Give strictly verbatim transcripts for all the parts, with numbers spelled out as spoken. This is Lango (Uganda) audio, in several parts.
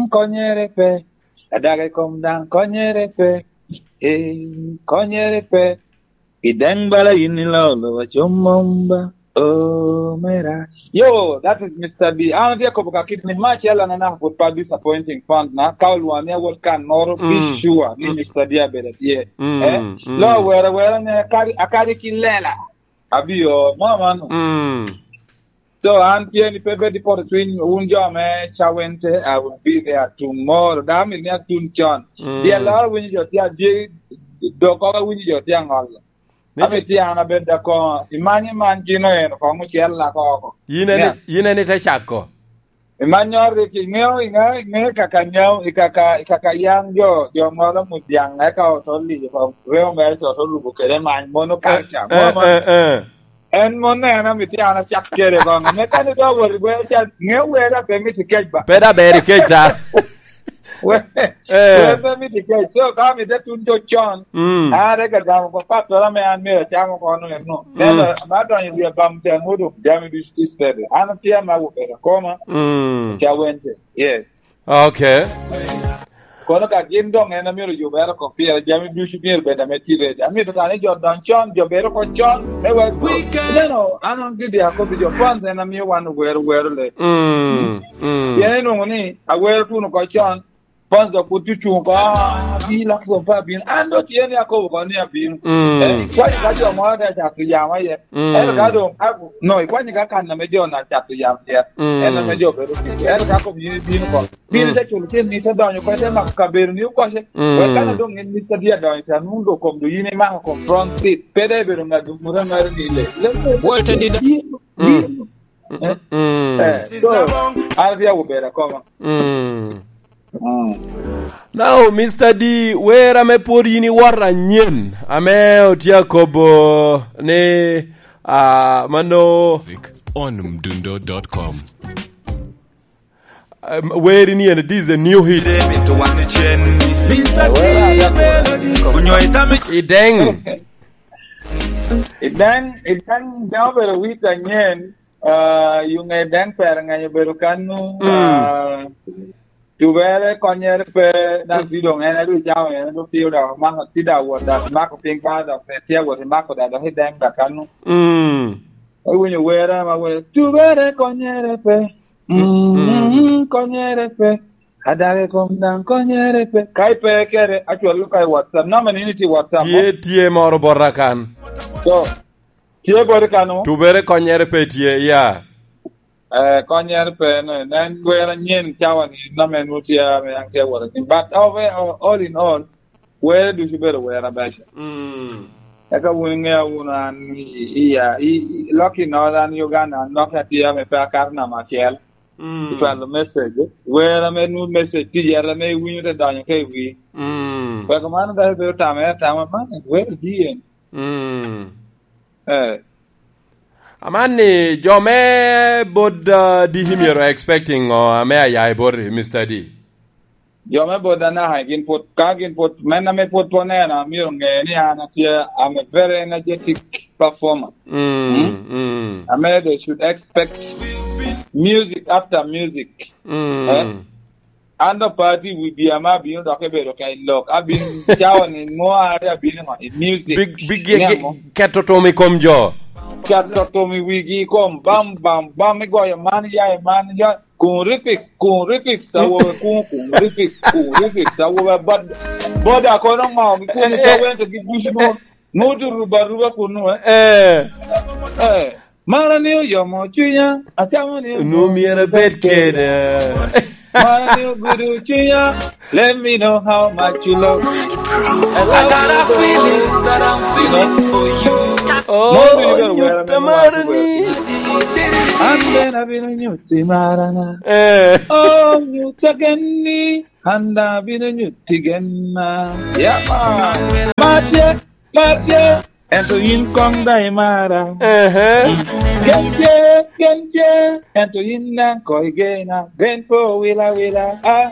konyere pe. Adaga i kom daŋ konyere pe. Eh, konyere pe. I daŋ bala yin ilolo acom mom ba. Oh, mera. Yo, that is Mister D. An atye akobo ka kit ni ma acel an anaka put pa disappointing fans na, ka olwongo ni awot kan noro, be Mm. sure ni Mm. Mister D abedo atye. Mm, Eh? Mm. Lo were were ni akadi, akadi ki lela. Abio, mo amano. Mm. So, an tye ni pe bed i poto cwiny, wun jo me Cawente, I will be there tomorrow. Dama ni atun con. Mm. Dyel loro winyo jo tye adye, dok koko winyo jo tye angolo. Ni Ami tye an abed akoŋo, imany imany gino eno koŋ ocel lako oko. Yin en, Yeah. yin en ite cako. Imany ori ki, iŋeo, iŋeo, iŋeo kaka nyao, i kaka, i kaka yan jo, jo ŋolo mudyaŋ, eka oto liyo koŋ, reo mere to, to lubo kede many, mono Eh, kalca, eh, mono, eh, eh. En mono en amito an acak kede koŋ, me kani do wot i gwe ca, ŋeo wega pe mito kec ba. Pe da ber i kec ta. We, Eh. we pe mito kec. So, ka mito tun to con, Mm. an ate ka gamo ko pattora me an myero acam oko no eno. Mm. Ento, ma donyo i wi abam tyen odok jami ducu tye steady. An atye ama obedo akoma, Mm. Cawente. Yes. Okay. Kono ka gin doŋ en amyero yubere oko pire, jami ducu myero bed ame tye ready. Amito ka ni jo doŋ con, jo bedo oko con, me wek, ineno, an on gidi akobbi jo, fans en amio wan owero wero le. Mm, mm. Pien inwoŋo ni, awero tuno oko con, fans dok pwod cucuŋ oko, "Ah, abino, lak dong pe abino." An dong tye ni akobo oko ni abino. Mm. Eh, ikwanyo ka jo moro te cato yam aye. Mm. Ento ka doŋ, a, no, ikwanyo ka kan ame jo na cato yam tye. Mm. En ame jo bedo tye. Ento ka kobo yin ibino oko. Bino Mm. te culo cen ni te donyo oko, te mako kabedo ni okoce. Mm. Wek kan doŋ in Mister D adonyo te anwoŋo doŋ kom doŋ yin imako kom front seat. Pe dai bedo ŋat doŋ muto aŋaro ni le. Le, le, Walter Dida. Yin, Mm. yin. Eh? Mm. Eh, so, an atye awobedo akoma. Mm. Mm. Now, Mister D, wer ame pwod yin iwoto anyen, ame otye akobo ni, ah, mano Music on mdundo dot com. Um, weri ni en, this is a new hit. Ideng. Ideng, ideng, deng obedo wit anyen, ah, yung ideng per ng'anyo obedo kanu, Mm. ah, tubere konyere pe, dan Mm. ti dong en adu cawa en adu tiyo da mako ti da wot da mako piny ka da pe tia wot mako da da ideng da kanu. Mm. Iwinyo were ma were, "Tubere konyere pe." Mm, Mm. konyere pe. Adage kom daŋ konyere pe. Ka ipe kere, actually, ka i WhatsApp. Namba ni ni ti WhatsApp mo? Tye, tye moro bota kan. So, tye bota kan mo? Tubere konyere pe tye, ya. Eh, konyere pe, ne, ne en were anyen cawa ni, namba en tye, ame an tye wota. But, oh, we-, oh, all in all, were ducu bedo were abeco. Mm. Eka wun iŋea wunu an i, i, i, i, lok i Northern Uganda, an lok atye ame pe akato namba acel. Mm. Icwalo message. Wer ame nwoŋo message tye yat ame iwinyo te donyo ka i wi. Mm. Wek man dok ibedo tamere atama, man wer di en? Mm. Eh. Aman ni, jo me bot, uh, D C myero expecting ŋo ame aya i bot Mister D? Jo me bot anaka gin pwod, ka gin pwod, men ame pwod pe oneno, myero ŋe ni an atye, I'm a very energetic performer. Mm, Mm? mm. Ame they should expect music after music. Mm. Eh? An dok pe atye i wi bia ma abino dok ebedo ka i lok. Abino cawa ni mo are abino ŋo? I music. Big, big, Ŋe ge-, mo? Keto tom i kom jo. Keto tom i wigi i kom. Bam, bam, bam, igoyo man, ya i man, ya. Kun ripik, kun ripik, sa wobe kun, kun ripik, kun ripik, sa wobe bad-, boda kono ŋo, gi kun Eh, eh. Sa wente gi bush mo, mo tu ruba, ruba kunu, eh. Eh. Eh. Mara ni oyomo cwinya, acamo ni Nu myero bed kede. Mara ni ogudo cwinya, let me know how much you love. I got a feeling that I'm feeling for you. Oh, Mondo ibed nyutta aware mar ni. An bene abino nyutti marana. Eh. Oh, nyutta genni, an daŋ abino nyutti genna. Yeah, man. Matye, matye, ento yin koŋ daŋ imara. Ehe. Genje, genje, ento yin daŋ koŋ igena. Gen pe owila wila, ah.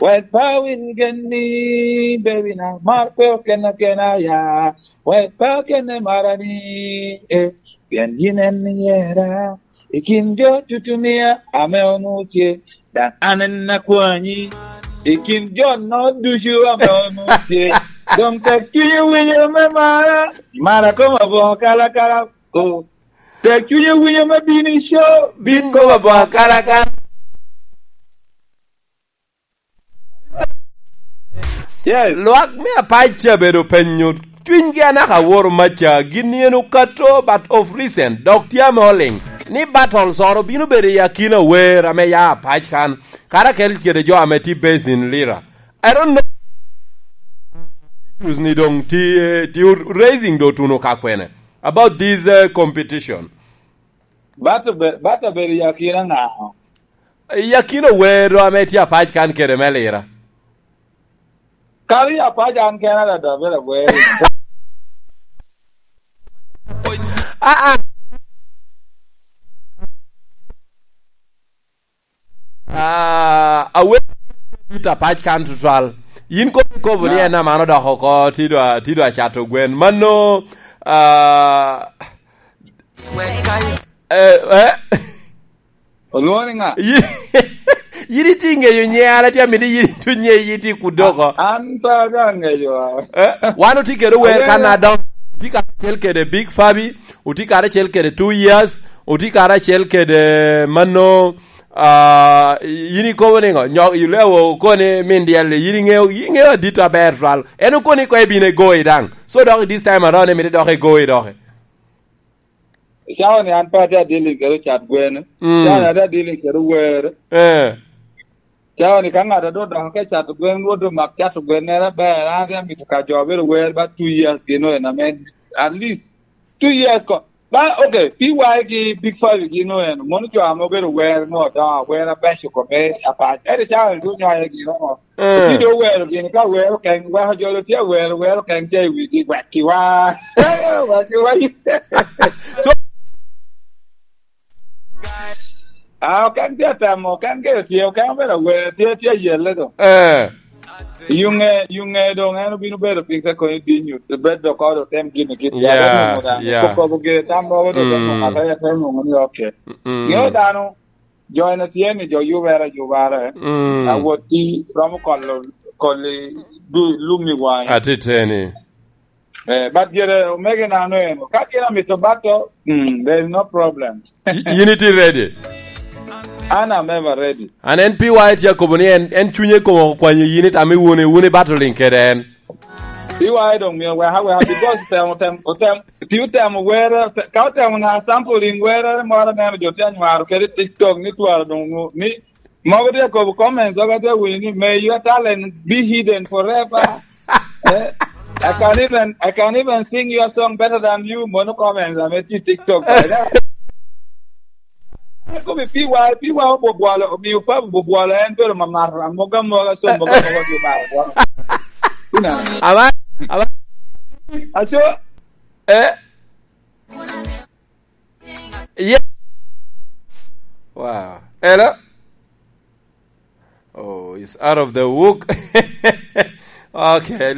Wek pe awil genni, baby na, mar pe oken akena, ya. Wek pe akene marani, eh, pien yin en iyera. I kin jo tutumia ame onwoŋo tye, daŋ an en akwanyi. I kin jo-no ducu ame onwoŋo tye, doŋ tek cunye winyo me mara, mara koma boŋo kalakala. Ko tek cunye winyo me bino i co, bin koma boŋo kalakala. Yes. Lwak me Apac ca bedo penyo cwinygi anaka aworo maca, gin yen okato, but of recent, dok tye ame oliŋ ni battles oro bino bedo i akina wer ame ya Apac kan, kara kel kede jo ame tye based in Lira. I don't know. Issues ni doŋ ti, ti raising do tuno ka kwene about this, uh, competition. Bato be-, bato bedo i akina ŋa? I akina wer ame tye Apac kan kede me Lira. Kadi i Apac an kena dada bedo agwero. Ah, ah. Ah, awer it Apac kan tutwal. Yin kop ikobo ni en aman odok oko, ti dwa, ti dwa cato gwen. Mano, ah, eh, eh. Olwoŋo ni ŋa? Yi-, yin itye ŋeyo nye, an atye amito yin itu nye, yin itye kudo oko. An pe atye aŋeyo. Eh, wan otye kede wer kan adongo. Otye karacel kede Big Fabi, otye karacel kede Two Years, otye karacel kede mano, ah, yin ikobo ni ŋo? Nyok, ilewo okoni min dyel, yin iŋeyo, yin iŋeyo adit aber twal. En okoni ko ibino igoyi daŋ. So dok this time around, imito dok igoyi dok. Cawa ni an pe atye adili kede ocat gwen. Mm. Cawa ni atye adili kede wer. Eh. Cawa ni ka ŋat a doŋ odoko ka cato gwen, rwot omak cato gwennere aber, an atye amito ka jo bedo wer ba two years gin oen ame at least two years ko. Ba, okay, P Y ki Big Five gin oen, mono jo ame obedo wer no, doŋ wer abeco kome Apac. Ento cawa ni doŋ nyoye gin oŋo? Eh. Pi doŋ wero gini ka wero keny, weko jo doŋ tye awero, wero keny tye i wigi, wekki wa. Wekki wa. So, ah, okeny tye atemo, okeny gire tye, okeny obedo awero, tye, tye ayelle doŋ. Eh. Yuŋe, yuŋe doŋ en obino bedo piny ka konyo dinyo, bed doŋ kodo tem gini kit. Yeah, yeah. Kop kobo gire tam mogo doŋ te nwoŋo, mm, ata ya te nwoŋo ni, okay. Mm. Ŋeo dano, jo en atye ni jo yubere ayubare, mm, awot ti romo kolo, koli du-, lum i wange. Atiteni. Eh, but gire omege nano eno. Ka gin amito bato, mm, there is no problem. Y-, yin iti ready? An am ever ready. An en P Y tye akobo ni en, en cunye komo okwanyo yin itamo iwune, wune battling kede en. Iwae doŋ mio weka weka, because otemo, tem-, otem-, pi otemo were, ote-, ka otemo na sampling were moro aneno jo tye anywaro kede i TikTok ni twara doŋ onwo-, ni mogo tye akobo comments, dok atye awinyo ni, "May your talent be hidden forever." Eh, I can even, I can even sing your song better than you, mono comments ame tye i TikTok. Komi P Y, P Y obwobwolo, omiyo Papa obwobwolo, en bedo mamato, amoga amoga, so moga amoga, omiyo maro bwolo. Ina. Aba, aba. Aco. Eh. Yeah. Wow. Hello? Oh, it's out of the wook. Okay.